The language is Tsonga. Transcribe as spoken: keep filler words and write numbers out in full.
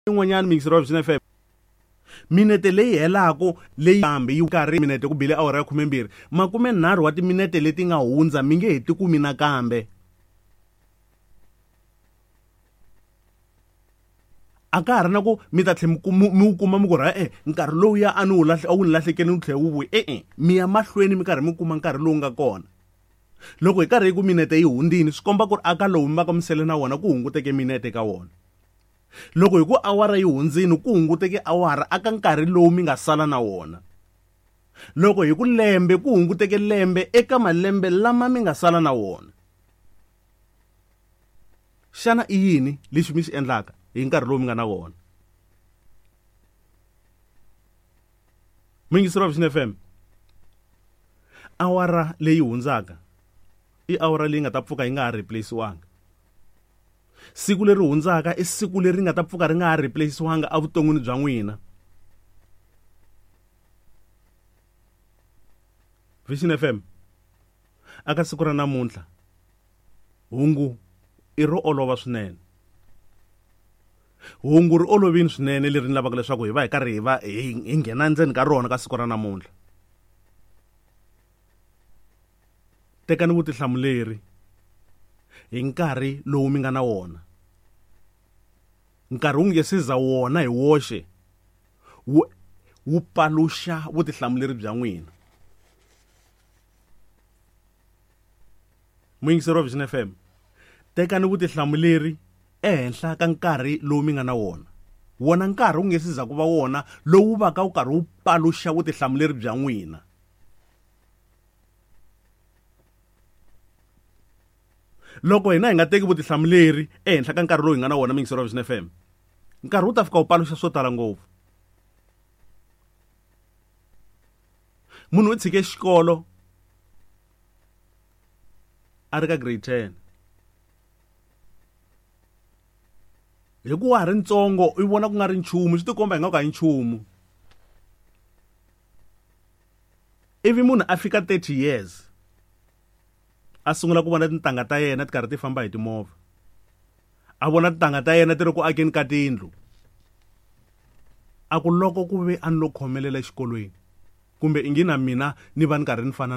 Yin'wanyana mixer wa Vision F M. Minete leyi helaku leyi kambe yi karhi minete ku bile awara ya khumembirhi makume nharhu wa timinete leti nga hundza mi nge he ti kumi nakambe. A ka ha ri na ku mi ta tlhe mi wu kuma mi ku ra e nkarhi lowu ya a ni wu lahle a wu ni lahlekeli wu tlhela wu vuya e-e mi ya mahlweni mi karhi mi kuma nkarhi lowu nga kona. Loko hi karhi hi ku minete yi hundzini swi komba ku ri aka lowu mi va ka mi sele na wona ku hunguteke minete ka wona. Loko hi ku awara yi hundzini ku hunguteke awara aka nkarhi lowu mi nga sala na wona. Loko hi ku lembe ku hunguteke lembe eka malembe lama mi nga sala na wona. Xana i yini lexi mi xi endlaka hi nkarhi lowu mi nga na wona? Muyingiseri wa Vision F M, awara leyi hundzaka i awara leyi nga ta pfuka yi nga ha replace-wanga. Siku leri hundzaka i siku leri nga ta pfuka ri nga ha replace-wanga evuton'wini bya n'wina. Vision F M, aka siku ra namuntlha hungu i ro olova swinene. Hungu ri olovini swinene leri ni lavaka leswaku hi va hi karhi hi va hi nghena ndzeni ka rona ka siku ra namuntlha. Tekani vutihlamuleri hi nkarhi lowu mi nga na wona. Nkarhi wu nge se za wona hi woxe wu, wu paluxa vutihlamuleri bya n'wina. Muyingiseri wa Vision F M, tekani vutihlamuleri ehenhla ka nkarhi lowu mi nga na wona. Wona nkarhi wu nge se za ku va wona lowu va ka wu karhi wu paluxa vutihlamuleri bya n'wina. Loko hina hi nga teki vutihlamuleri ehenhla ka nkarhi lowu hi nga na wona muyingiseri wa Vision F M, nkarhi wu ta fika wu paluxa swo tala ngopfu. Munhu u tshike xikolo a ri ka grade ten. Hi ku wa ha ri ntsongo u vona ku nga ri nchumu, swi tikomba hi nga ku a hi nchumu. Ivi munhu a fika thirty years a sungula ku vona tintangha ta yena ti karhi ti famba hi timovha. A vona tintangha ta yena ti ri ku akeni ka tindlu. A ku loko ku ve a ni lo khomelela exikolweni kumbe i ngi na mina ni va ni karhi ni fana na